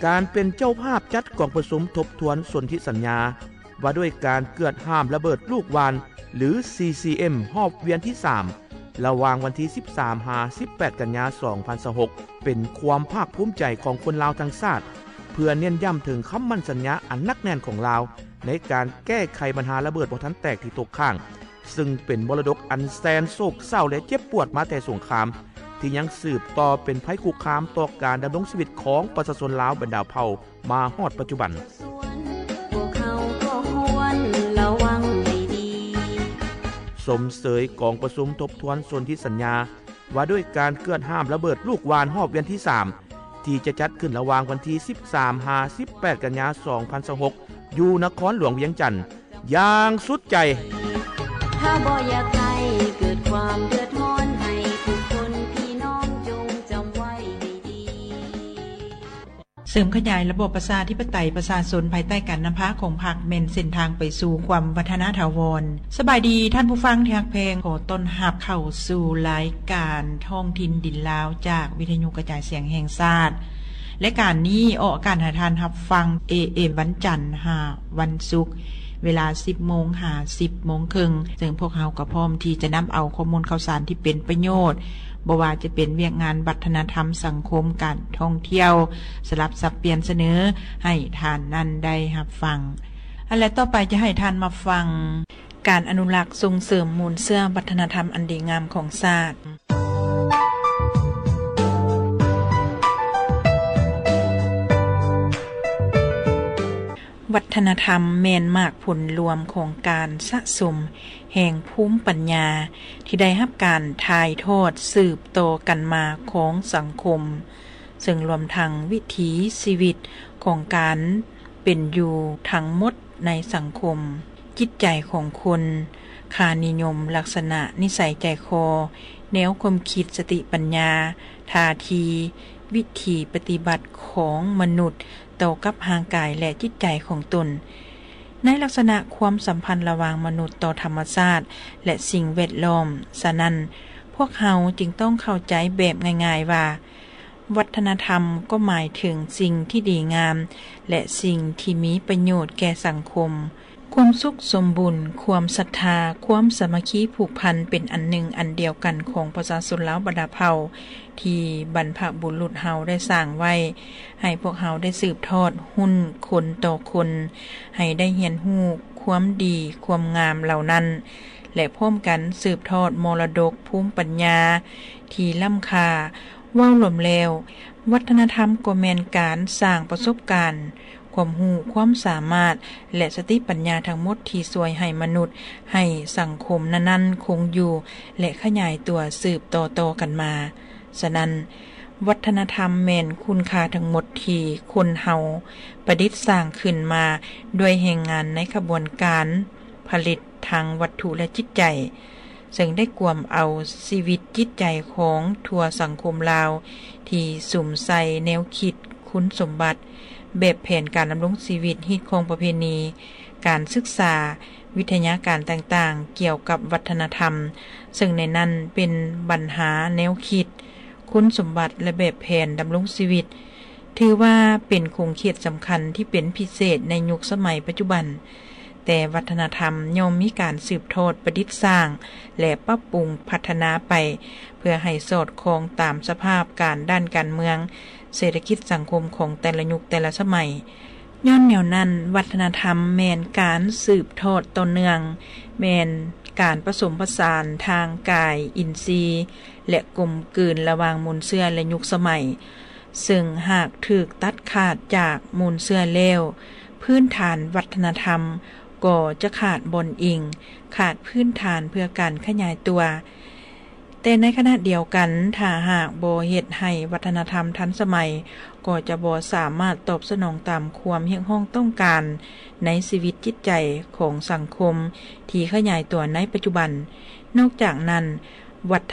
ການເປັນເຈົ້າພາບຈັດກອງປະຊຸມທົບທວນສົນທິສັນຍາ ວ່າດ້ວຍການເກືອດຫ້າມລະເບີດລູກຫວ່ານ ຫຼື CCM ຮອບວຽນທີສາມ ລະຫວ່າງວັນທີສິບສາມ ຫາ ສິບແປດ ກັນຍາ ສອງພັນຊາວຫົກ ເປັນຄວາມພາກພູມໃຈຂອງຄົນລາວທັງຊາດ ເພື່ອເນັ້ນຢ້ຳເຖິງຄຳໝັ້ນສັນຍາອັນໜັກແໜ້ນຂອງລາວ ໃນການແກ້ໄຂບັນຫາລະເບີດບໍ່ທັນແຕກທີ່ຕົກຄ້າງ ຊຶ່ງເປັນມໍລະດົກອັນແສນໂສກເສົ້າ ແລະ ເຈັບປວດມາແຕ່ສົງຄາມ ທີ່ຍັງສືບຕໍ່ເປັນໄພຄຸກຄາມຕໍ່ການດຳລົງຊີວິດຂອງປະຊາຊົນລາວບັນດາເຜົ່າມາຮອດປັດຈຸບັນ. ຊົມເຊີຍກອງປະຊຸມທົບທວນສົນທິສັນຍາ ວ່າດ້ວຍການເກືອດຫ້າມລະເບີດລູກຫວ່ານຮອບວຽນທີສາມ ທີ່ຈະຈັດຂຶ້ນລະຫວ່າງວັນທີສິບສາມ ຫາ ສິບແປດ ກັນຍາ ສອງພັນຊາວຫົກ ຢູ່ນະຄອນຫຼວງວຽງຈັນ ຢ່າງສຸດໃຈ. ຖ້າບໍ່ຢາກໃຫ້ເກີດຄວາມເດືອດຮ້ອນ ໃຫ້ທຸກຄົນພີ່ນ້ອງຈົ່ງຈຳໄວ້ໃຫ້ດີ. ເສີມຂະຫຍາຍລະບອບປະຊາທິປະໄຕປະຊາຊົນ ພາຍໃຕ້ການນຳພາຂອງພັກ ແມ່ນເສັ້ນທາງໄປສູ່ຄວາມວັດທະນາຖາວອນ. ສະບາຍດີທ່ານຜູ້ຟັງທີ່ຮັກແພງ, ຂໍຕ້ອນຮັບເຂົ້າສູ່ລາຍການທ້ອງຖິ່ນດິນລາວ ຈາກວິທະຍຸກະຈາຍສຽງແຫ່ງຊາດ. ລາຍການນີ້ອອກອາກາດໃຫ້ທ່ານຮັບຟັງ ເອເອັມ ວັນຈັນຫາວັນສຸກ ເວລາສິບໂມງຫາສິບໂມງເຄິ່ງ, ເຊິ່ງພວກເຮົາກໍພ້ອມທີ່ຈະນຳເອົາຂໍ້ມູນຂ່າວສານທີ່ເປັນປະໂຫຍດ, ບໍ່ວ່າຈະເປັນວຽກງານວັດທະນະທຳ, ສັງຄົມ, ການທ່ອງທ່ຽວ, ສະຫຼັບສັບປ່ຽນສະເໜີໃຫ້ທ່ານນັ້ນໄດ້ຮັບຟັງ. ອັນ ແລະ ຕໍ່ໄປຈະໃຫ້ທ່ານມາຟັງ ການອະນຸລັກສົ່ງເສີມມູນເຊື້ອວັດທະນະທຳອັນດີງາມຂອງຊາດ. ວັດທະນະທຳແມ່ນໝາກຜົນລວມຂອງການສະສົມແຫ່ງພູມປັນຍາ ທີ່ໄດ້ຮັບການຖ່າຍທອດສືບຕໍ່ກັນມາຂອງສັງຄົມ, ເຊິ່ງລວມທັງວິຖີຊີວິດຂອງການເປັນຢູ່ທັງໝົດໃນສັງຄົມ, ຈິດໃຈຂອງຄົນ, ຄ່ານິຍົມ, ລັກສະນະນິໄສໃຈຄໍ, ແນວຄວາມຄິດ, ສະຕິປັນຍາ, ທ່າທີ, ວິຖີປະຕິບັດຂອງມະນຸດຕໍ່ກັບຮ່າງກາຍ ແລະ ຈິດໃຈຂອງຕົນ. ໃນລັກສະນະຄວາມສຳພັນລະຫວ່າງມະນຸດຕໍ່ທຳມະຊາດ ແລະ ສິ່ງແວດລ້ອມ, ສະນັ້ນ, ພວກເຮົາຈຶ່ງຕ້ອງເຂົ້າໃຈແບບງ່າຍໆວ່າ, ວັດທະນະທຳກໍໝາຍເຖິງສິ່ງທີ່ດີງາມ ແລະ ສິ່ງທີ່ມີປະໂຫຍດແກ່ສັງຄົມ. ຄວາມສຸກສົມບູນ, ຄວາມສັດທາ, ຄວາມສາມັກຄີຜູກພັນເປັນອັນໜຶ່ງອັນດຽວກັນຂອງປະຊາຊົນລາວບັນດາເຜົ່າ ທີ່ບັນພະບຸລຸດເຮົາໄດ້ສ້າງໄວ້ ໃຫ້ພວກເຮົາໄດ້ສືບທອດຮຸ່ນຄົນຕໍ່ຄົນ ໃຫ້ໄດ້ຮຽນຮູ້ຄວາມດີຄວາມງາມເຫຼົ່ານັ້ນ ແລະ ພ້ອມກັນສືບທອດມໍລະດົກພູມປັນຍາທີ່ລ້ຳຄ່າ. ເວົ້າລວມແລ້ວ, ວັດທະນະທຳກໍແມ່ນການສ້າງປະສົບການ, ຄວາມຮູ້, ຄວາມສາມາດ ແລະ ສະຕິປັນຍາທັງໝົດທີ່ຊ່ວຍໃຫ້ມະນຸດ, ໃຫ້ສັງຄົມນັ້ນໆຄົງຢູ່ ແລະ ຂະຫຍາຍຕົວສືບຕໍ່ໆກັນມາ. ສະນັ້ນ, ວັດທະນະທຳແມ່ນຄຸນຄ່າທັງໝົດທີ່ຄົນເຮົາປະດິດສ້າງຂຶ້ນມາດ້ວຍແຮງງານໃນຂະບວນການຜະລິດທາງວັດຖຸ ແລະ ຈິດໃຈ, ເຊິ່ງໄດ້ກວມເອົາຊີວິດຈິດໃຈຂອງທົ່ວສັງຄົມລາວ ທີ່ສຸມໃສ່ແນວຄິດ, ຄຸນສົມບັດ, ແບບແຜນການດຳລົງຊີວິດ, ຮີດຄອງປະເພນີ, ການສຶກສາ, ວິທະຍາການຕ່າງໆກ່ຽວກັບວັດທະນະທຳ, ເຊິ່ງໃນນັ້ນເປັນບັນຫາແນວຄິດ, ຄຸນສົມບັດ ແລະ ແບບແຜນດຳລົງຊີວິດ, ຖືວ່າເປັນຂົງເຂດສຳຄັນທີ່ເປັນພິເສດໃນຍຸກສະໄໝປັດຈຸບັນ. ແຕ່ວັດທະນະທຳຍ່ອມມີການສືບທອດ, ປະດິດສ້າງ ແລະ ປັບປຸງພັດທະນາໄປ ເພື່ອໃຫ້ສອດຄ່ອງຕາມສະພາບການດ້ານການເມືອງ, ເສດຖະກິດສັງຄົມຂອງແຕ່ລະຍຸກແຕ່ລະສະໄໝ. ຍ້ອນແນວນັ້ນ, ວັດທະນະທຳແມ່ນການສືບທອດຕໍ່ເນື່ອງ, ແມ່ນການປະສົມປະສານທາງກາຍ, ອິນຊີ ແລະ ກົມກືນລະຫວ່າງມູນເຊື້ອ ແລະ ຍຸກສະໄໝ. ເຊິ່ງຫາກຖືກຕັດຂາດຈາກມູນເຊື້ອແລ້ວ, ພື້ນຖານວັດທະນະທຳກໍຈະຂາດບ່ອນອີງ, ຂາດພື້ນຖານເພື່ອການຂະຫຍາຍຕົວ. ແຕ່ໃນຂະນະດຽວກັນ, ຖ້າຫາກບໍ່ເຮັດໃຫ້ວັດທະນະທຳທັນສະໄໝ, ກໍຈະບໍ່ສາມາດຕອບສະໜອງຕາມຄວາມຮຽກຮ້ອງຕ້ອງການໃນຊີວິດຈິດໃຈຂອງສັງຄົມທີ່ຂະຫຍາຍຕົວໃນປັດຈຸບັນ. ນອກຈາກນັ້ນ, ວັດທະ